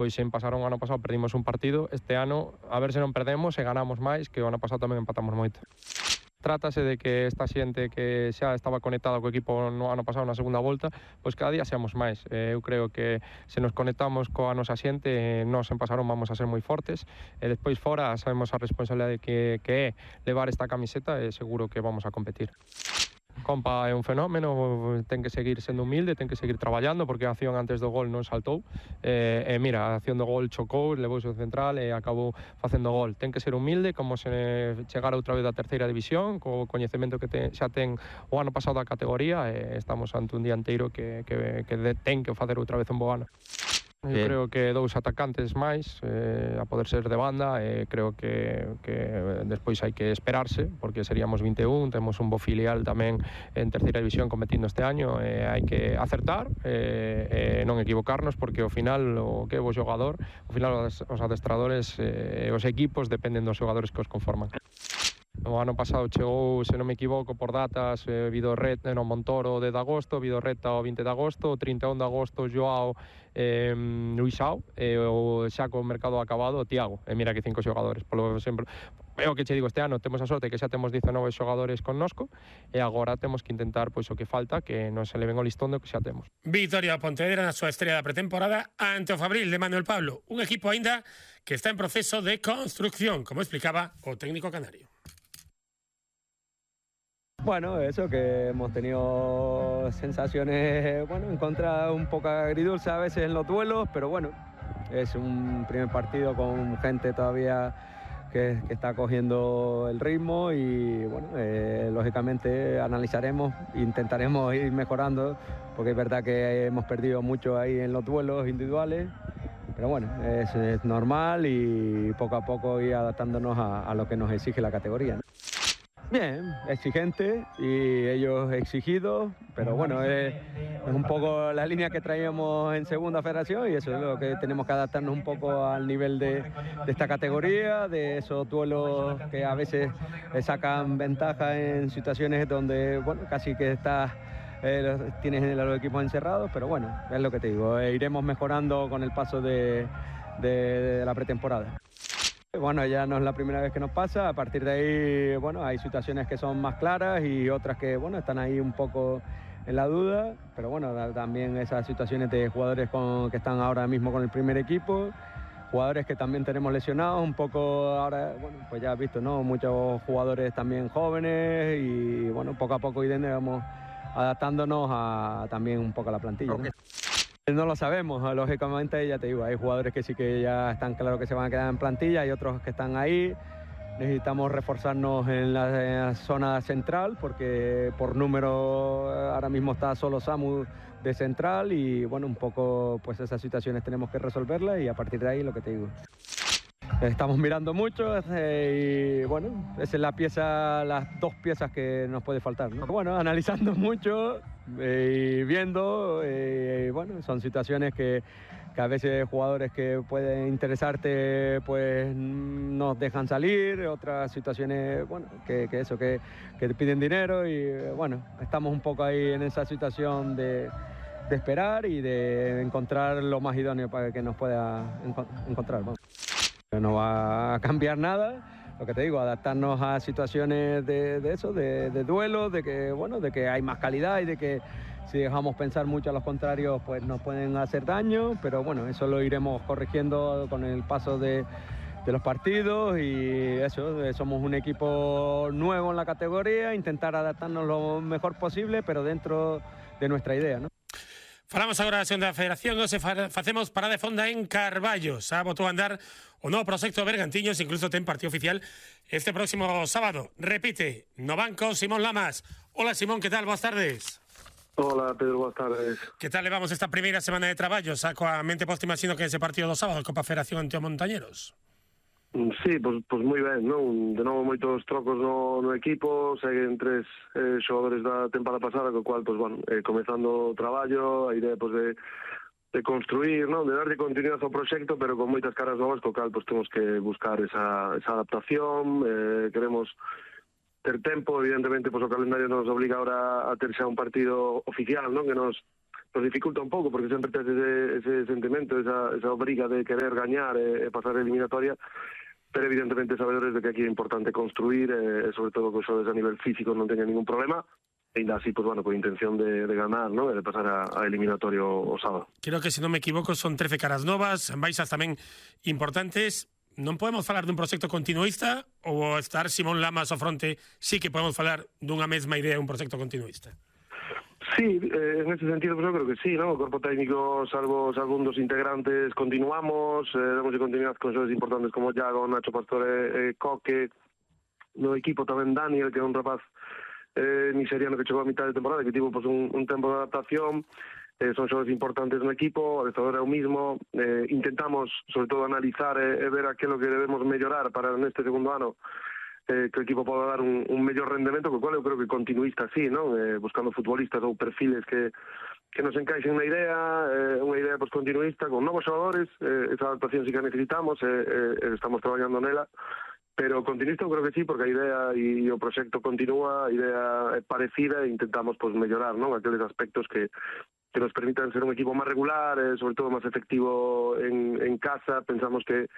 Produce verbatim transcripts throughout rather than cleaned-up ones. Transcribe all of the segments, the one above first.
Pois sen pasar o ano pasado perdimos un partido, este ano a ver se non perdemos e ganamos máis, que o ano pasado tamén empatamos moito. Trátase de que esta xente que xa estaba conectada co equipo no ano pasado na segunda volta, pois cada día seamos máis. Eu creo que se nos conectamos coa nosa xente, nós en Pasarón vamos a ser moi fortes e despois fora sabemos a responsabilidade que, que é levar esta camiseta e seguro que vamos a competir. Compa é un fenómeno, ten que seguir sendo humilde, ten que seguir traballando porque a acción antes do gol non saltou e, e mira, a acción do gol chocou, levouse o central e acabou facendo gol. Ten que ser humilde, como se chegara outra vez da terceira división, co coñecemento que ten, xa ten o ano pasado da categoría e estamos ante un dianteiro que, que, que ten que facer outra vez un bo ano. Eu Bien. creo que dous atacantes máis eh, a poder ser de banda e creo que, que despois hai que esperarse porque seríamos vinte e un, temos un bo filial tamén en terceira división competindo este año e hai que acertar e, e non equivocarnos porque ao final o que é o xogador, ao final os, os adestradores e eh, os equipos dependen dos xogadores que os conforman. O ano pasado chegou, se non me equivoco, por datas, eh, Vidorret no Montoro de agosto, Vidorreta o vinte de agosto, o trinta e un de agosto Joao eh, Luisao, e o xa co mercado acabado o Tiago. E mira que cinco xogadores, polo sempre é o que che digo, este ano temos a sorte que xa temos dezanove xogadores connosco e agora temos que intentar pois o que falta, que non se le ven o listón do que xa temos. Vitoria Pontevedra na súa estrela da pretemporada ante o Fabril de Manuel Pablo, un equipo aínda que está en proceso de construcción, como explicaba o técnico canario. Bueno, eso, que hemos tenido sensaciones, bueno, en contra un poco agridulce a veces en los duelos, pero bueno, es un primer partido con gente todavía que, que está cogiendo el ritmo y bueno, eh, lógicamente analizaremos, intentaremos ir mejorando, porque es verdad que hemos perdido mucho ahí en los duelos individuales, pero bueno, es, es normal y poco a poco ir adaptándonos a, a lo que nos exige la categoría, ¿no? Bien, exigente y ellos exigidos, pero bueno, es, es un poco la línea que traíamos en segunda federación y eso es lo que tenemos que adaptarnos un poco al nivel de, de esta categoría, de esos duelos que a veces sacan ventaja en situaciones donde, bueno, casi que estás, eh, tienes a los equipos encerrados, pero bueno, es lo que te digo, eh, iremos mejorando con el paso de, de, de la pretemporada. Bueno, ya no es la primera vez que nos pasa, a partir de ahí, bueno, hay situaciones que son más claras y otras que, bueno, están ahí un poco en la duda, pero bueno, también esas situaciones de jugadores con, que están ahora mismo con el primer equipo, jugadores que también tenemos lesionados, un poco ahora, bueno, pues ya has visto, ¿no? Muchos jugadores también jóvenes y, bueno, poco a poco iremos adaptándonos a también un poco a la plantilla, ¿no? No lo sabemos, lógicamente, ya te digo, hay jugadores que sí que ya están claros que se van a quedar en plantilla, hay otros que están ahí. Necesitamos reforzarnos en la, en la zona central porque por número ahora mismo está solo Samu de central y bueno, un poco pues esas situaciones tenemos que resolverlas y a partir de ahí lo que te digo. Estamos mirando mucho eh, y bueno, esa es la pieza, las dos piezas que nos puede faltar, ¿no? Bueno, analizando mucho eh, y viendo, eh, bueno, son situaciones que, que a veces jugadores que pueden interesarte pues nos dejan salir, otras situaciones, bueno, que, que eso, que, que te piden dinero y bueno, estamos un poco ahí en esa situación de, de esperar y de encontrar lo más idóneo para que nos pueda enco encontrar. Bueno. No va a cambiar nada, lo que te digo, adaptarnos a situaciones de, de eso, de, de duelo, de que, bueno, de que hay más calidad y de que si dejamos pensar mucho a los contrarios, pues nos pueden hacer daño, pero bueno, eso lo iremos corrigiendo con el paso de, de los partidos y eso, somos un equipo nuevo en la categoría, intentar adaptarnos lo mejor posible, pero dentro de nuestra idea, ¿no? Falamos agora da segunda federación, nos facemos parada de fonda en Carballo. Xa botou a andar o novo proxecto Bergantiños, incluso ten partido oficial este próximo sábado. Repite, no banco, Simón Lamas. Hola Simón, que tal? Boas tardes. Hola Pedro, boas tardes. Que tal levamos esta primeira semana de traballo? Xa coa mente posta, imagino que ese partido do sábado, Copa Federación ante o Montañeros. Sí, pois, pois moi ben, non? De novo moitos trocos no, no equipo, seguen tres eh, xogadores da temporada pasada, co cual, pois, bueno, eh, comezando o traballo, a idea, pois, de, de construir, non? De darlle continuidade ao proxecto, pero con moitas caras novas, co cal, pois, temos que buscar esa, esa adaptación, eh, queremos ter tempo, evidentemente, pois, o calendario nos obliga ahora a ter xa un partido oficial, non? Que nos nos dificulta un pouco, porque sempre tes ese, ese sentimento, esa, esa obriga de querer gañar e, e pasar a eliminatoria, pero evidentemente sabedores de que aquí é importante construir e, e sobre todo que os xogadores a nivel físico non teñan ningún problema, e ainda así, pues bueno, con intención de, de ganar, ¿no? E de pasar a, a eliminatorio o sábado. Creo que, se non me equivoco, son trece caras novas, baixas tamén importantes. Non podemos falar dun proxecto continuista, ou estar Simón Lamas ao fronte sí que podemos falar dunha mesma idea, un proxecto continuista? Sí, eh, en ese sentido pues yo creo que sí, ¿no? O corpo técnico, salvo, salvo un dos integrantes, continuamos, eh, damos de continuidade con xogadores importantes como Iago, Nacho Pastore, eh, Coque, no equipo tamén Daniel, que é un rapaz eh, nigeriano que chegou a mitad de temporada, que tivo pues, un, un tempo de adaptación, eh, son xogadores importantes no equipo, o adestrador é o mismo, eh, intentamos sobre todo analizar e, e ver aquilo que debemos mellorar para neste segundo ano, Eh, que o equipo poda dar un, un mellor rendemento, co cual eu creo que continuista sí, non? Eh, buscando futbolistas ou perfiles que, que nos encaixen na idea, eh, unha idea pues, continuista, con novos xogadores, eh, esa adaptación sí que necesitamos, eh, eh, estamos traballando nela, pero continuista eu creo que sí, porque a idea e o proxecto continúa, a idea é parecida e intentamos pues, mellorar, non? Aqueles aspectos que que nos permitan ser un equipo máis regular, eh, sobre todo máis efectivo en, en casa. Pensamos que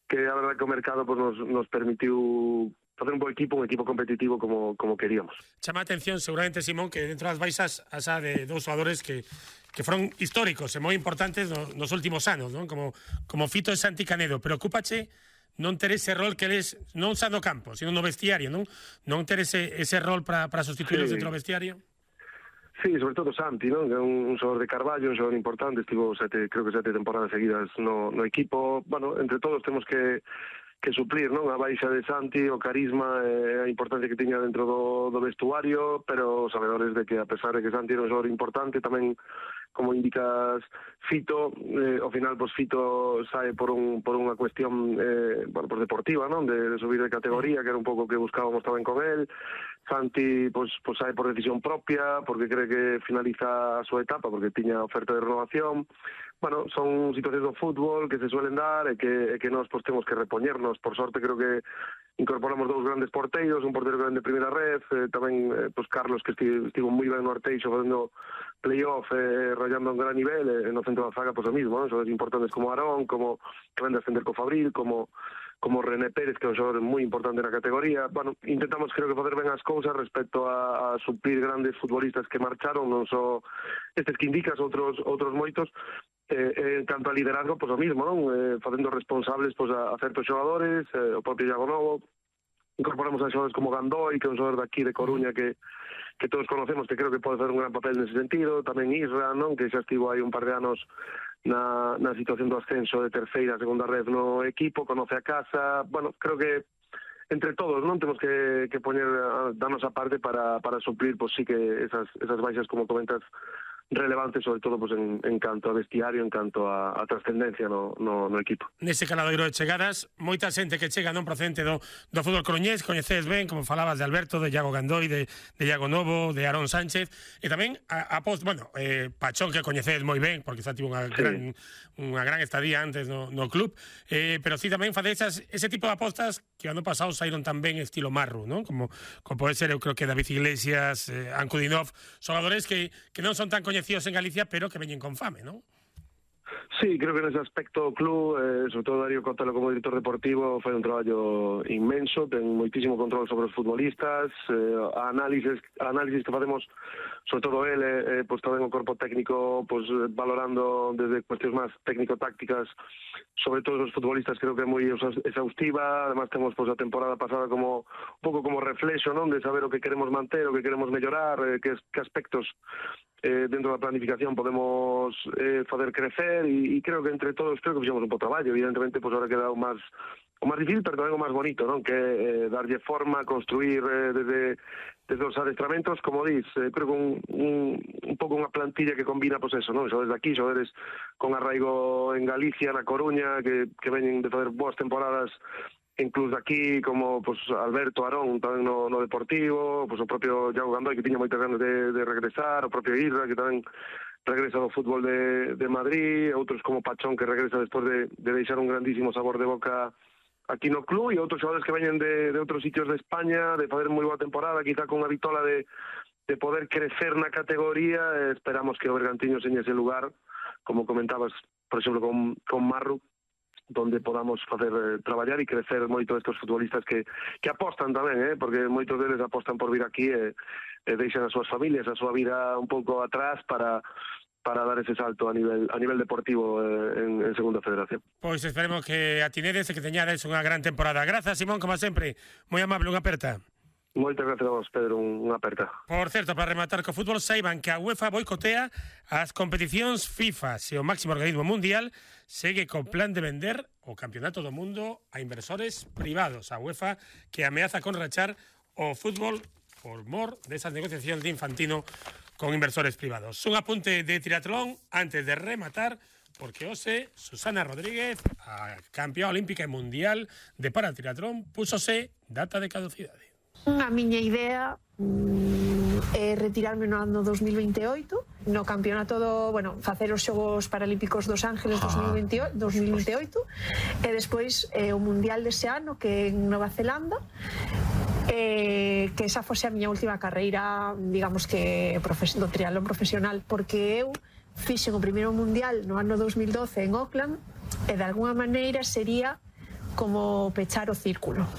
que a verdade que o mercado pues, nos, nos permitiu facer un bo equipo, un equipo competitivo como, como queríamos. Chama a atención seguramente, Simón, que dentro das baixas asa de dous xogadores que, que foron históricos e moi importantes no, nos últimos anos, non? Como, como Fito e Santi Canedo. Preocúpache non ter ese rol que eles, non xa no campo, sino no vestiario, non? Non ter ese, ese rol para sustituirlos sí. dentro do vestiario? Sí, sobre todo Santi, ¿no? Que é un, un xogador de Carballo, un xogador importante, estivo sete, creo que sete temporadas seguidas no, no equipo. Bueno, entre todos temos que, que suplir, ¿no? A baixa de Santi, o carisma e a importancia que tiña dentro do, do vestuario, pero sabedores de que a pesar de que Santi era un xogador importante, tamén como indicas Fito, eh, ao final pues Fito sae por un por unha cuestión eh, bueno, pues deportiva, ¿no? De, de subir de categoría, que era un pouco que buscábamos tamén con él. Santi pues, pues sae por decisión propia, porque cree que finaliza a súa etapa, porque tiña oferta de renovación. Bueno, son situacións do fútbol que se suelen dar e que, e que nós pues, temos que repoñernos. Por sorte creo que incorporamos dous grandes porteiros, un porteiro grande de primeira red, eh, tamén eh, pues Carlos que estivo, estivo moi ben no Arteixo facendo playoff, eh, rayando un gran nivel, e eh, no centro da zaga pues o mismo, ¿no? Son importantes como Aarón, como que ven de ascender co Fabril, como como René Pérez, que é un xogador moi importante na categoría. Bueno, intentamos creo que facer ben as cousas respecto a, a suplir grandes futbolistas que marcharon, non só estes que indicas, outros outros moitos. Eh, eh, en canto a liderazgo, pois pues, o mismo, non? Eh, facendo responsables pois, pues, a, a certos xogadores, eh, o propio Iago Novo. Incorporamos a xogadores como Gandoi, que é un xogador daqui de Coruña que que todos conocemos, que creo que pode facer un gran papel nese sentido. Tamén Isra, non? Que xa estivo aí un par de anos na, na situación do ascenso de terceira, segunda red no equipo, conoce a casa. Bueno, creo que entre todos non temos que, que poñer a, darnos a parte para, para suplir, pues sí que esas, esas baixas, como comentas, relevante, sobre todo pues, en, en canto a vestiario, en canto a, a trascendencia no, no, no equipo. Nese caladoiro de chegadas, moita xente que chega non procedente do, do fútbol coruñés, coñecedes ben, como falabas de Alberto, de Iago Gandoi, de, de Iago Novo, de Aarón Sánchez, e tamén a, a post, bueno, eh, Pachón, que coñecedes moi ben, porque xa tivo unha sí. gran, unha gran estadía antes no, no club, eh, pero sí tamén fadeis ese tipo de apostas que ano pasado saíron tamén estilo Marru, non? Como, como pode ser, eu creo que David Iglesias, eh, Ankudinov, xogadores que, que non son tan coñecidos en Galicia, pero que veñen con fame, non? Sí, creo que nese aspecto o club, eh, sobre todo Darío Cotelo como director deportivo, fai un traballo inmenso, ten moitísimo control sobre os futbolistas, eh, a análisis, a análisis que facemos, sobre todo ele, eh, pues tamén o corpo técnico, pues valorando desde cuestións máis técnico-tácticas sobre todos os futbolistas, creo que é moi exhaustiva. Además temos pues, a temporada pasada como un pouco como reflexo, non, de saber o que queremos manter, o que queremos mellorar, eh, que, que aspectos eh, dentro da planificación podemos eh, fazer crecer, e, e creo que entre todos creo que fixemos un bo traballo. Evidentemente, pues ahora queda o máis o máis difícil, pero tamén o máis bonito, non? Que eh, darlle forma, construir eh, desde desde os adestramentos, como dis, eh, creo que un, un, un pouco unha plantilla que combina, pues eso, non? Xogadores de aquí, xogadores con arraigo en Galicia, na Coruña, que, que veñen de fazer boas temporadas en clubs de aquí, como pues, Alberto, Aarón, tamén no, no Deportivo, pues, o propio Iago Gandoi, que tiña moitas ganas de, de regresar, o propio Isra, que tamén regresa do fútbol de, de Madrid, outros como Pachón, que regresa despois de, de deixar un grandísimo sabor de boca aquí no club, e outros xogadores que veñen de, de outros sitios de España, de fazer moi boa temporada, quizá con unha vitola de, de poder crecer na categoría. Esperamos que o Bergantiños en ese lugar, como comentabas, por exemplo, con, con Marru, donde podamos facer eh, traballar e crecer moito estes futbolistas que, que apostan tamén, eh, porque moitos deles apostan por vir aquí e, e deixan as súas familias, a súa vida un pouco atrás para para dar ese salto a nivel a nivel deportivo eh, en, en Segunda Federación. Pois esperemos que atinedes e que teñades unha gran temporada. Grazas, Simón, como sempre, moi amable, unha aperta. Moitas gracias a vos, Pedro, unha aperta. Por certo, para rematar co fútbol, saiban que a UEFA boicotea as competicións FIFA se o máximo organismo mundial segue co plan de vender o Campeonato do Mundo a inversores privados. A UEFA que ameaza con rachar o fútbol por mor desas negociacións de Infantino con inversores privados. Un apunte de triatlón antes de rematar, porque hoxe Susana Rodríguez, a campeona olímpica e mundial de paratriatlón, púsose data de caducidade. A miña idea mm, é retirarme no ano dos mil veintioito, no campeonato do, bueno, facer os Xogos Paralímpicos dos Ángeles dos mil veintioito e despois eh, o Mundial dese ano que en Nova Zelanda, eh, que esa fose a miña última carreira, digamos que do triatlón profesional, porque eu fixen o primeiro Mundial no ano dos mil doce en Auckland e de alguna maneira sería como pechar o círculo.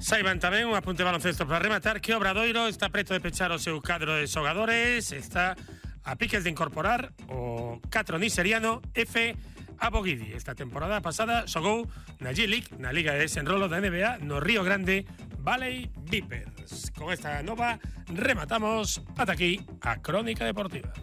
Saiban tamén, un apunte baloncesto para rematar, que Obradoiro está preto de pechar o seu cadro de xogadores, está a piques de incorporar o catro nigeriano F. Abogidi. Esta temporada pasada xogou na G-League, na Liga de Desenrolo da N B A, no Río Grande Valley Vipers. Con esta nova rematamos ata aquí a Crónica Deportiva.